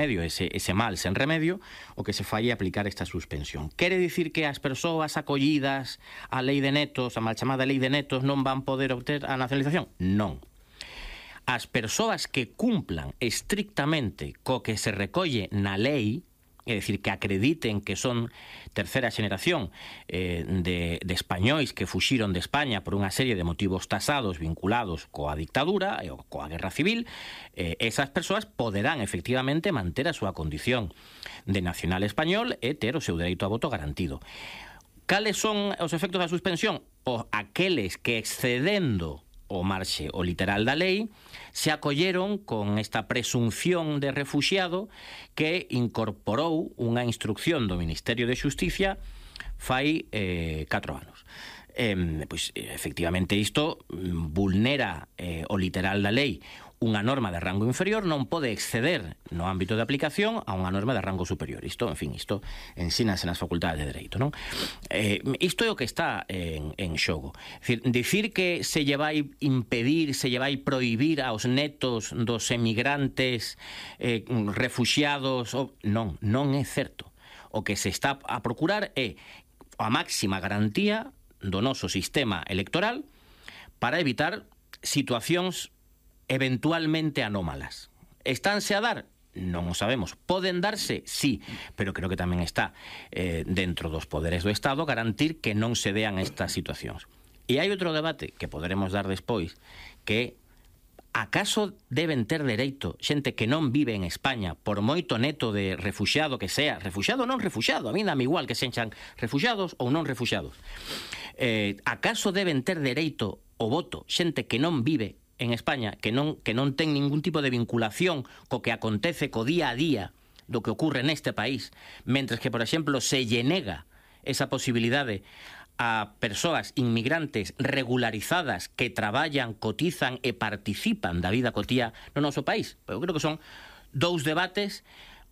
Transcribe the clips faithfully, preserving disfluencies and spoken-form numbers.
remedio, ese, ese mal sen remedio, o que se fai é aplicar esta suspensión. Quere dicir que as persoas acollidas á lei de netos, a mal chamada lei de netos, non van poder obter a nacionalización? Non. As persoas que cumplan estrictamente co que se recolle na lei, é dicir, que acrediten que son terceira xeneración eh, de, de españois que fuxiron de España por unha serie de motivos tasados vinculados coa dictadura e coa guerra civil, eh, esas persoas poderán efectivamente manter a súa condición de nacional español e ter o seu dereito a voto garantido. Cales son os efectos da suspensión? O aqueles que excedendo o marxe o literal da lei se acolleron con esta presunción de refuxiado que incorporou unha instrucción do Ministerio de Xusticia fai eh, catro anos. Eh, pois, efectivamente, isto vulnera eh, o literal da lei. Unha norma de rango inferior non pode exceder no ámbito de aplicación a unha norma de rango superior. Isto, en fin, isto ensínase nas facultades de Dereito, non? Eh, isto é o que está en, en xogo. Dicir, dicir que se lle vai impedir, se lle vai prohibir aos netos dos emigrantes eh, refuxiados, o... non, non é certo. O que se está a procurar é a máxima garantía do noso sistema electoral para evitar situacións eventualmente anómalas. Estánse a dar? Non o sabemos. Poden darse? Sí, pero creo que tamén está eh, dentro dos poderes do Estado garantir que non se dean estas situacións. E hai outro debate que poderemos dar despois, que acaso deben ter dereito xente que non vive en España, por moito neto de refuxiado que sea, refuxiado ou non refuxiado, a mí dame igual que sexan refuxiados ou non refuxiados, eh, acaso deben ter dereito ao voto xente que non vive en España, que non, que non ten ningún tipo de vinculación co que acontece co día a día do que ocorre neste país, mentres que, por exemplo, se lle nega esa posibilidade a persoas inmigrantes regularizadas que traballan, cotizan e participan da vida cotía no noso país. Eu creo que son dous debates.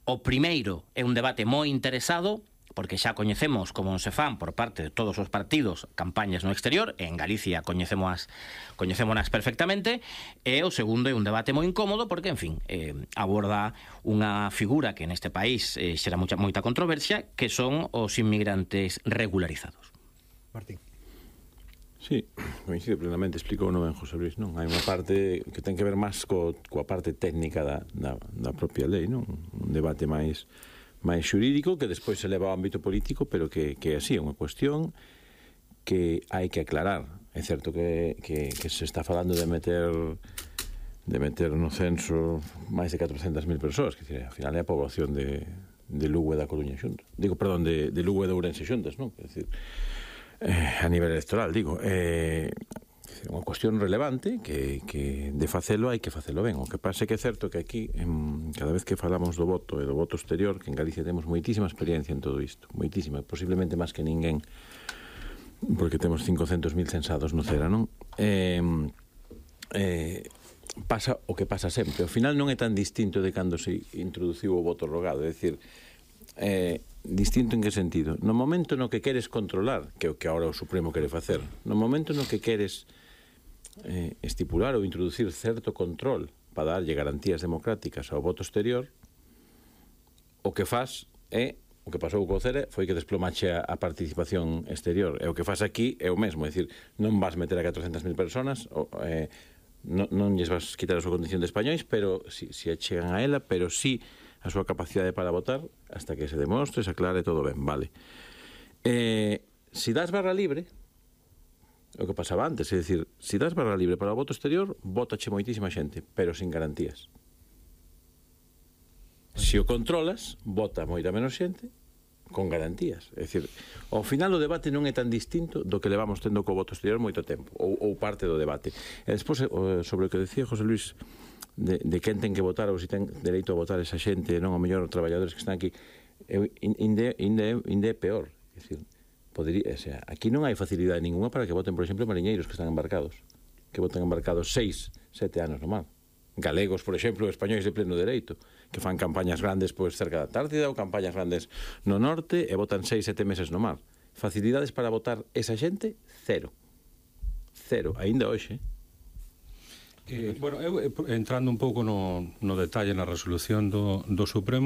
O primeiro é un debate moi interesado, porque xa coñecemos como se fan por parte de todos os partidos campañas no exterior, e en Galicia coñecemos coñecémonas perfectamente, e o segundo é un debate moi incómodo porque, en fin, eh, aborda unha figura que neste país eh, xera moita, moita controversia, que son os inmigrantes regularizados. Martín. Sí, coincido plenamente, explicou non ben José Luis, non? Hai unha parte que ten que ver máis co, coa parte técnica da, da, da propia lei, non? Un debate máis máis xurídico que despois se leva ao ámbito político, pero que, que así é unha cuestión que hai que aclarar. É certo que, que, que se está falando de meter de meter no censo máis de catrocentas mil persoas, que ao final é a poboación de, de Lugo e da Coruña xunta. Digo, perdón, de, de Lugo e de Ourense xuntas, non? É dicir, eh, a nivel electoral, digo, eh, é unha cuestión relevante que, que de facelo hai que facelo ben. O que pasa é que é certo que aquí en, cada vez que falamos do voto e do voto exterior, que en Galicia temos moitísima experiencia en todo isto, moitísima, posiblemente máis que ninguén, porque temos cincocentos mil censados no Cera, non? Eh, eh, pasa o que pasa sempre. Ao final non é tan distinto de cando se introduciu o voto rogado, é dicir, eh, distinto en que sentido? No momento no que queres controlar, que é o que agora o Supremo quere facer, no momento no que queres eh, estipular ou introducir certo control para darlle garantías democráticas ao voto exterior, o que faz é, o que pasou co Cera foi que desplomache a, a participación exterior, e o que faz aquí é o mesmo, é dicir, non vas meter a catrocentas mil personas, o, eh, non, non lles vas quitar a súa condición de españois, pero si, si achegan a ela, pero si a súa capacidade para votar hasta que se demostre, se aclare todo ben, vale. Eh, si das barra libre, o que pasaba antes, é dicir, si das barra libre para o voto exterior, votache moitísima xente, pero sin garantías. Se o controlas, vota moita menos xente con garantías. É dicir, ao final o debate non é tan distinto do que levamos tendo co voto exterior moito tempo, ou, ou parte do debate. E despois, sobre o que decía José Luis, de, de quen ten que votar ou se ten dereito a votar esa xente, non o mellor traballadores que están aquí, inde, inde, inde é peor. É dicir, podría, o sea, aquí non hai facilidade ninguna para que voten, por exemplo, mariñeiros que están embarcados, que voten embarcados seis, sete anos no mar. Galegos, por exemplo, españois de pleno dereito, que fan campañas grandes pois cerca da Antártida ou campañas grandes no norte e votan seis, sete meses no mar. Facilidades para votar esa xente, cero. Cero, aínda hoxe. Eh, bueno, eu, entrando un pouco no, no detalle na resolución do, do Supremo,